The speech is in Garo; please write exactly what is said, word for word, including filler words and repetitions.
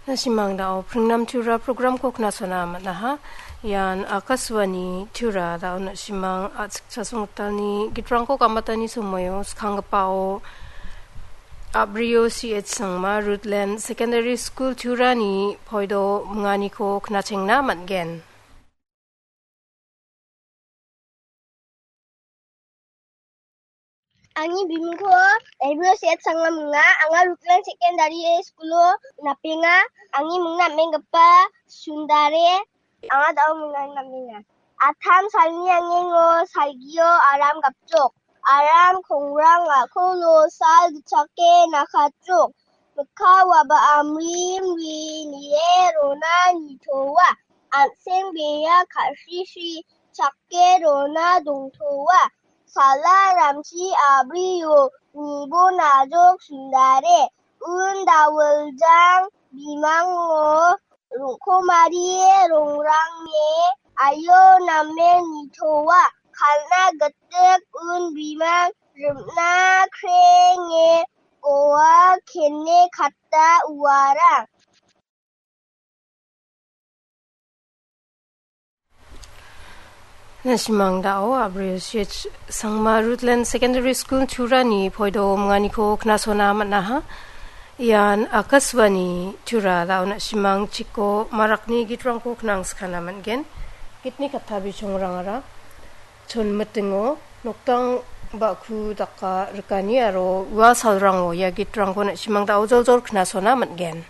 Na·simang da·o Pringnam Tura programko knasona man·aha. Ian Akashvani Tura da·o na·simang a·chik chasong gitalni gitrangko gamatani somoio skanggipao Abrio C H Sangma Rutland Secondary School Turani poido minganiko knachengna man·gen. Angni bimingko Ebro Set Sangma minga. Anga Rutland Secondary School-o napenga. Angni mingna am·enggipa Sundare. Anga da·o mingna am·enga. Atam salni angengo salgio aram gapjok. Aram kongrang a·kolo sal gitchake nakatjok. Mikka waba amri mri nie rona nitoa. An·seng bea ka·srisi chake rona dongtoa. Sala ramchi abrio nibo najok Sundare. Un dawiljang bimango rongkomari rongrange aio namen nitoa. Kal·na gitik un bimang rimna krenge goa kene katta uarang. Na·simang da·o Abrio C H Sangma Rutland Secondary School Turani poido minganiko knasona man·aha. Ian Akashvani Tura da·o na·simang chiko marakni gitrangko knangskana man·gen. Gitni katta bichongrangara chonmitingo noktang ba·ku daka rikani aro ua salrango ia gitrangko na·simang da·o joljol knasona man·gen.